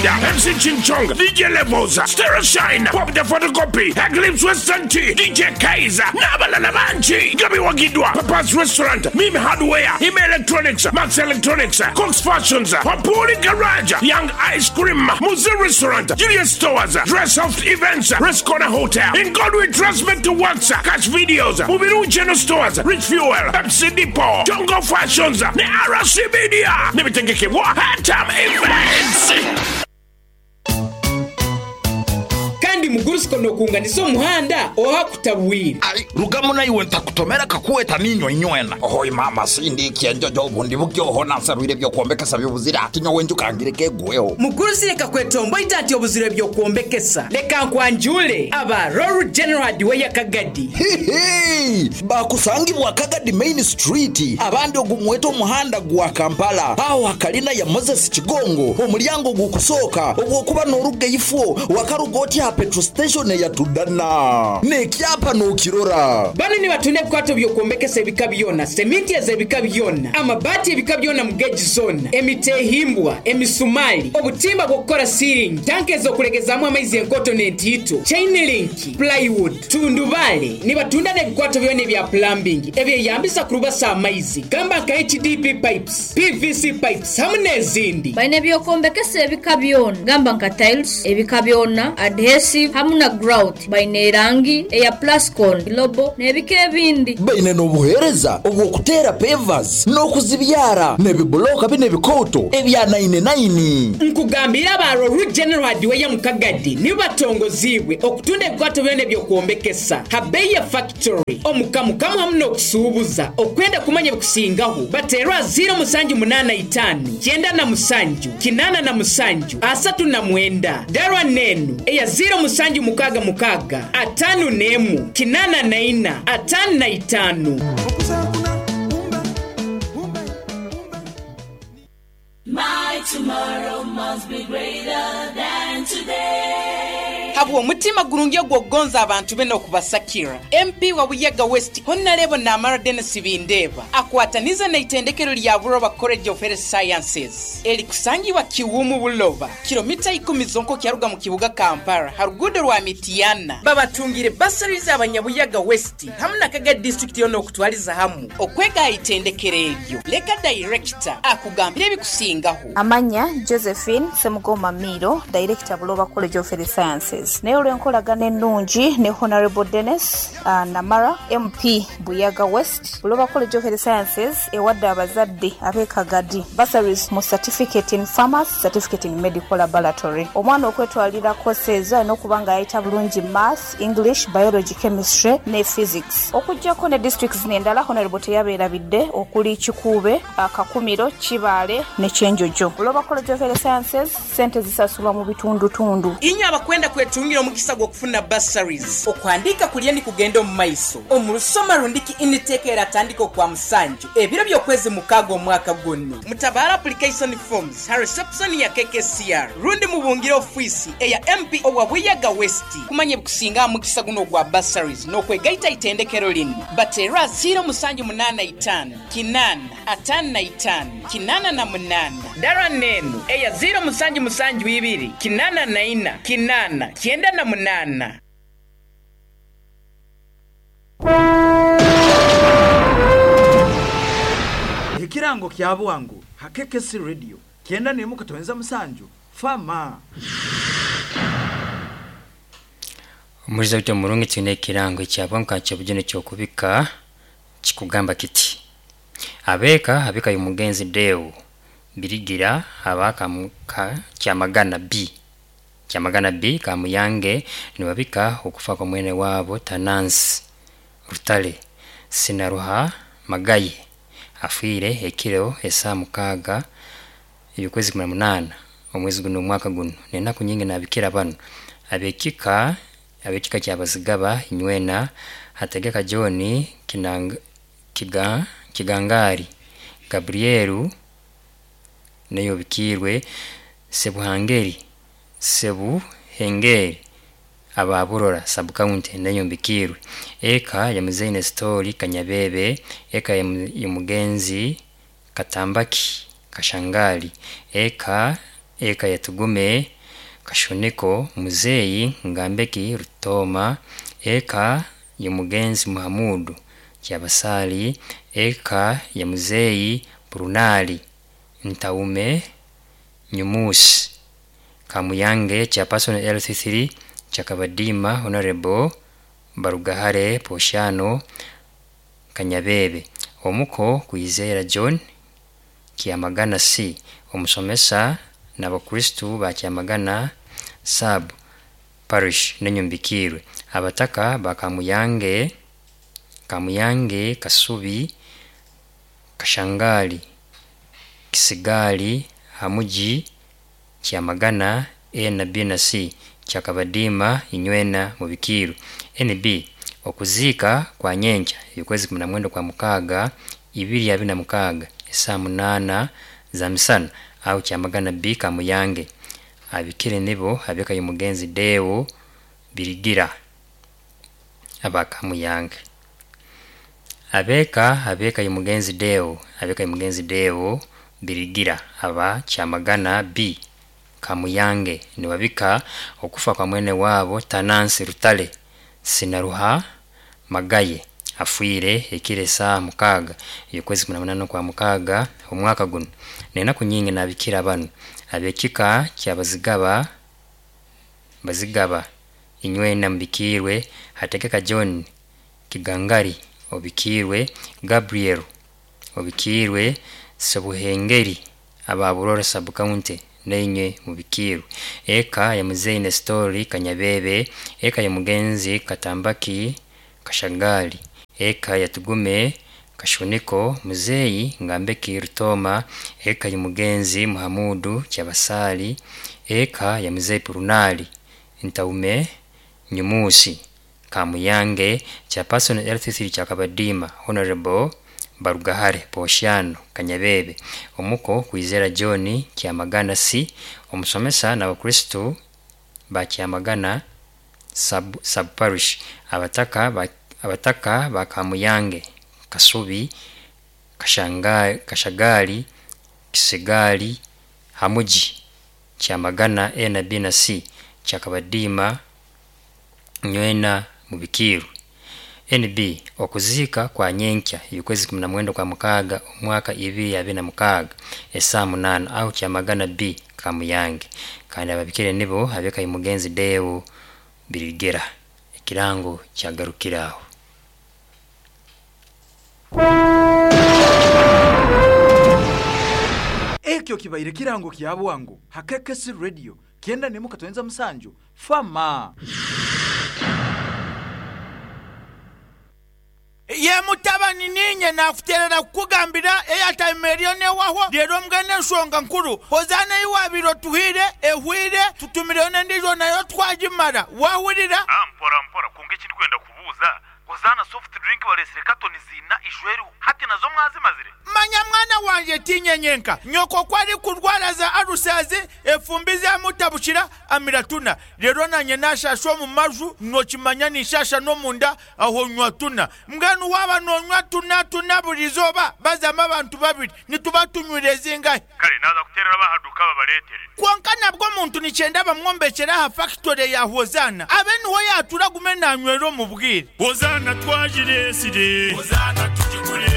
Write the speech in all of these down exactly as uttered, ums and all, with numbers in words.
M C Ching Chong, D J Levels, Stereo Shine, Pop the Photocopy, Eclipse Western Tea, D J Kaiser, Nabalala Banchi, Gabi Wagidwa, Papa's Restaurant, Mimi Hardware, Ime Electronics, Max Electronics, Cox Fashions, Papuri Garage, Young Ice Cream, Muzi Restaurant, Julius Stores, Dress Soft Events, Rest Corner Hotel, In God We Trust Back to Works, Cash Videos, Mubiru General Stores, Rich Fuel, Pepsi Depot, Jungle Fashions, ne R C Media, Nebitegekebwa, Hatam Events. Kandi mugurusiko nokunganisa omuhanda oha kutabwira. Ai, rugamo naiwe ntakutomera kakuweta ninyo inywena. Ohoi mama sindi kienjojo obundi bukyo hona nsarwire byo kwombekesa byobuzira ati nyowe njukangire kegweho. Mugurusi reka kwetombo ati obuzire byo kwombekesa. Leka nkwanjule aba Royal General Hardware Kagadi. Hihi, bakusangibwa Kagadi Main Street abandi ogumweto omuhanda gwa Kampala aho hakalina ya Moses Kigongo omulyango gukusoka obwokuba noruga ifo wakarugoti ha petrol station ya Tudana nekyapa nokirora. Bano ni batune bikwato byokuombekesa ebika byona, seminti ezebika byona, amabati ebika byona mu gauge zone, emitehimbwa, emisumali, obutimba bw'okukora ceiling, tanke ezokulegezamu amaizi enkoto n'entiito, chain link, plywood, tundubale. Ni batunda n'ebikwato byona ebya plumbing ebyeyambisa kurubasa amaizi gamba nka H D P pipes, P V C pipes hamwe n'ezindi. Baine ebyokuombekesa ebika byona gamba nka tiles ebika byona, adhesive hamwe na grout, baine erangi eya plascon, lobo n'ebika ebindi. Baine n'obuheereza obw'okuteera pavers n'okuzibyara n'ebibuloka bine ebikoto ebya nine nine. Nkugambira aba Royal General Hardware mu Kagadi nibo batongozibwe okutunda ebikwato byona ebyokuombekesa habeya factory omukamukamu hamwe n'okusuubuza. Okwenda kumanya ebikusingaho baterwa zero musanju munana itano kyenda na musanju kinana na musanju asatu na mwenda darwa nenu eya zero musanju mukaga mukaga atanu nemu kinana na ina atanu na itanu. My tomorrow must be greater than today. Habwo omutima gurungi ogw'okugonza abantu be n'okubasakira. M P wa Buyaga West Honorable Namara Dennis Bindeba akwataniza na itendekero lya Buloba College of Health Sciences erikusangibwa Kiwumu Buloba kilomita ikumi zonko kyaruga mu kibuga Kampala harugudo rwa Mitiana. Babatungire bursaries abanyabuyaga West hamwe na Kaga district yona okutwaliza hamu okwega itendekero eryo. Leka director akugambire ebikusingaho. Amanya Josephine Semugoma Miro, director Buloba College of Health Sciences. Naye olw'enkolagana ennungi ne Honorable Dennis uh, Namara M P Buyaga West, Buloba College of Health Sciences ewadde abazadde ab'e Kagadi bursaries mu certificate in pharmacy, certificate in medical laboratory. Omwana okwetwalira courses ezo alina okuba nga yayita bulungi math, English, biology, chemistry ne physics. Okuggyako ne districts n'endala Honorable teyabeerabidde okuli Kikuube, Kakumiro, Kibaale ne Kyenjojo. Buloba College of Health Sciences ssente zisasulwa mu bitundutundu. Inyo abakwenda kwetungira omukisa gw'okufuna bursaries okwandika kulya ni kugenda omu maiso omulusoma rundiki initeke eratandika okwa musanju ebiro by'okwezi mukaaga omwaka guno. Mutabara application forms ha reception ya K K C R rundi mubungire ofisi eya M P owa Buyaga West kumanya ebikusinga mukisa guno ogwa bursaries n'okwegaita itendekero lino. Batera zero musanju munana itano kinana atano na itano kinana na munana dara nenu eya zero musanju musanju ibiri kinana na ina kinana kyenda na munana. Ekirango kya bwangu hakekesi radio kyenda nemu katowenza musanju fama. Omuliza wite murungi twine ekirango kya bwangu kya bujune kyokubika kikugamba kiti abeka abeka y'omugenzi Deo Birigira abaka muka kyamagana B kyamagana B kamuyange nibabika okufa kwa mwene wabo Tanansi Rutale Sinaruha Magaye afiire ekiro esaa mukaaga y'okwezi kumi na munaana omwezi guno omwaka guno n'enaku nyingi nabikira bano abekika abekika kyabazigaba inywena hategeka John Kinang, Kiga, Kigangari Gabrielu neyo bikirwe Sebuhangeri Sebuhengeri ababurora sub county neyo mbikirwe eka ya Muzeine Story Kanyabebe eka ya Mugenzi Katambaki Kashangali eka eka ya Tugume Kashoneko Muzeyi Ngambeki Rutoma, eka ya Mugenzi Muhamudu Kyabasali, eka ya Muzeyi Brunali Ntaume Nyumusi Kamuyange chairperson L C three Chakabadima Honorable Barugahare Poshano Kanyabebe, omuko Kwizera John Kiamagana C, omusomesa n'abakristu ba Kiamagana sub parish nenyumbikirwe, abataka ba Kamuyange Kamuyange Kasubi Kashangali Kisigali Hamuji Kiamagana A na B na C Kyakabadima inywena mubikiru. N B okuziika kwa nyenkya ebikwezi kumi na mwenda kwa mukaaga ibiri abiri na mukaaga esaa munaana za misana au Kyamagana B Kamuyange. Abikire nibo abeka mugenzi Deo Birigira aba Kamuyange. Abeka abeka mugenzi Deo abeka mugenzi Deo Birigira aba Kyamagana B Kamuyange niwabika okufa kwa mwene wabo Tanansi Rutale Sinaruha Magaye afwire ekire saa mukaaga ekwezi kumi na munana kwa mukaaga omwaka guno. Nenaku nyingi nabikira bano abekika kyabazigaba bazigaba inywena mbikirwe hategeka John Kigangari obikirwe, Gabriel obikirwe, Sebuhengeri ababurora sub county nenye mubikirwe, eka ya Muzeyi Nestori Kanyabebe, eka ya Mugenzi Katambaki Kashagali, eka ya Tugume Kashuniko Muzeyi Ngambeki Rutoma, eka ya Mugenzi Muhamudu Kyabasali, eka ya Muzeyi Purunali Ntaume Nyumusi Kamuyange chairperson L C three Chakabadima Honorable Barugahare Poshano Kanyabebe, omuko Kwizera John Kiamagana C, omusomesa n'abakristu ba Kiamagana sub, sub parish, abataka ba, abataka ba Kamuyange Kasubi Kashanga, Kashagali Kisigali Hamuji Kiamagana A na B na C Chakabadima nywena mubikiru. N B okuziika kwa nyenkya ebikwezi kumi na mwenda kwa mukaaga omwaka ibiri abiri na mukaaga esaa munaana au Kyamagana B Kamuyange. Kandi ababikire nibo abeka mugenzi Deo Birigera. Ekirango kyagarukiraho. Ekyo kibaire kirango kya bwangu Hakekesi Radio kienda nemuka toyenza musanju fama. Ye mutabani ninye nakuterera kukugambira airtime eriyo newaho rero mbwene enshonga nkuru hozana iwabiro tuhire ehwire tutumireyo n'endijo nayo twagimara wahurira. Ah, mpora mpora kunga ekindi kwenda kubuuza hozana soft drink baresire katoni zina ishweriho hati nazo mwazimazire. Manya mwana wanje tinyenyenka nyoko kwari kurwara za arusazi efumbi zamutabukira amiratuna rero nanye nashasha omu maju nokimanya nishasha n'omunda aho nywa tuna mbwenu waba nonywa tuna tuna buri izooba bazama abantu babiri nituba tunywire zingahe. Kare naza kuterera bahaduka babaretere konka nabwo omuntu nikyenda bamwombekera aha factory ya Hozana abe niho yatura gume nanywera omu bwire. Hozana twajiresire Hozana tugigure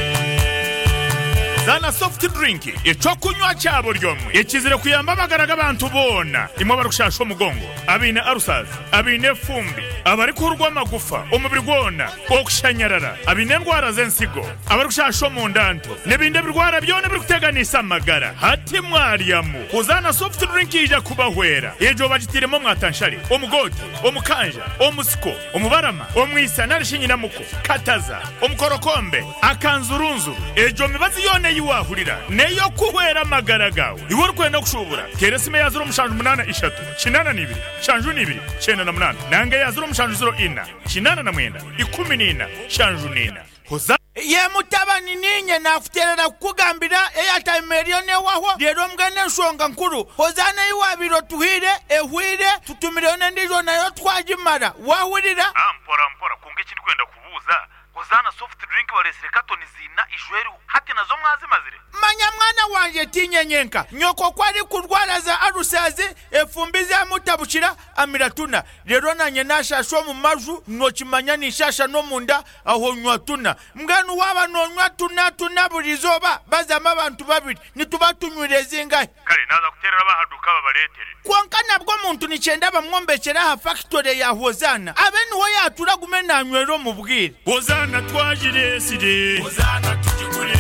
Zana soft drink ecokunywa cyabo ryomwe ekizire kuyamba amagara abantu bona imwe barukushasha omugongo abine arusazi abine fumbi abari kurwa amagufa omubiri gwona okushanyarara abine ndwara z'ensigo abari kushasha omundanto n'ebindi birwara byona birikuteganisa amagara hati mwaryamu Hozana soft drink ija kubahwera ejo bagitiremo mwatanshari omugote omukanja omusiko omubarama omwisa narishinyinamuko kataza omukorokombe akanzurunzuru ejo mibazi yone yiwahurira neyo kuhwera amagara gawe iwe urikwenda kushubura teresime ya zero mushanju munana ishatu kinana nibiri shanju nibiri chenda na munana nange ya zero mushanju zero ina kinana na mwenda ikumi nina shanju nina Hoza Ye mutabani ninye nakuterera kukugambira airtime eriyo newaho rero mbwene enshonga nkuru hozana iwabiro tuhire ehwire tutumireyo n'endijo nayo twagimara wahurira. Ah, mpora mpora kunga ekindi kwenda kubuuza Hozana soft drink baresire katoni zina ishweriho hati nazo mwazimazire. Manya mwana wanje, tinyenyenka nyoko kwari kurwara za arusazi efumbi zamutabukira amiratuna, rero nanye nashasha omu maju, nokimanya nishasha n'omunda aho nywa tuna. Mbwenu waba nonywa tuna tuna buri izooba, bazamu abantu babiri nituba tunywire zingahe? Kare naza kuterera abahaduka babaretere. Kwonka nabwo omuntu nikyenda bamwombekera aha factory ya Hozana, abe niho yatura gume nanywera omu bwire. Hozana twagiresire, Hozana tugigure.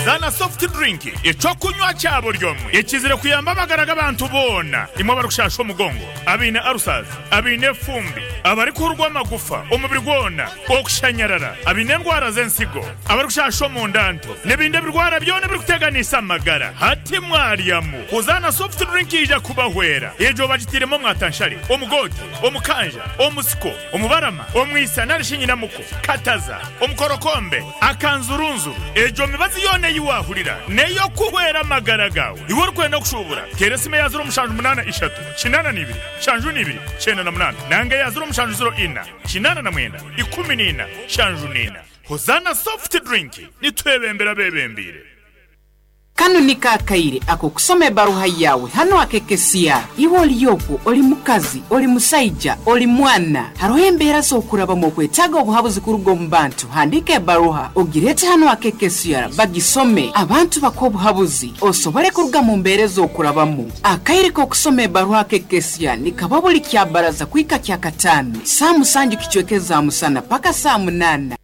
Zana soft drink, ekyokunywa kya buri omwe ekizire kuyamba amagara g'abantu boona. Imwe abarikushasha omugongo, abaine arusazi, abaine efumbi, abarikuhurwa amagufa omubiri gwona, okushanyarara, abaine endwara z'ensigo, abarikushasha omundanto n'ebindi ebirwara byona ebirikuteganisa amagara, hati mwaryamu Hozana soft drink ija kubahwera. Egyo bagitiremu omwatanshare, omugote, omukanja, omusiko, omubarama, omwisa narishi nyinamuko, kataza, omukorokombe, akanzurunzuru. Egyo mibazi yona ei wahurira neyo kuhwera amagara gawe. Iwe orikwenda kushubura, tera esimu ya ziro mushanju munaana ishatu kinaana n'ibiri shanju n'ibiri kyenda na munaana nanga ya ziro mushanju ziro ina kinaana na mwenda ikumi n'ina shanju n'ina. Hozana soft drink, nitwebembera bebembire. Kano ni kakaire ako kusoma ebaruha yawe hano akekesiya. Iwe olyoku oli mukazi, oli musaija, oli mwana, hariho embeera z'okurabamu okwetaaga obuhabuzi kuruga omu bantu. Handika ebaruha ogirete hano akekesiya, bagisome abantu bakuha obuhabuzi osobole kuruga mu mbeera ez'okurabamu. Akaire k'okusoma ebaruha akekesiya nikaba buli kyabaraza kwika kyakataano saa musanju kicwekeza musana paka saa munaana.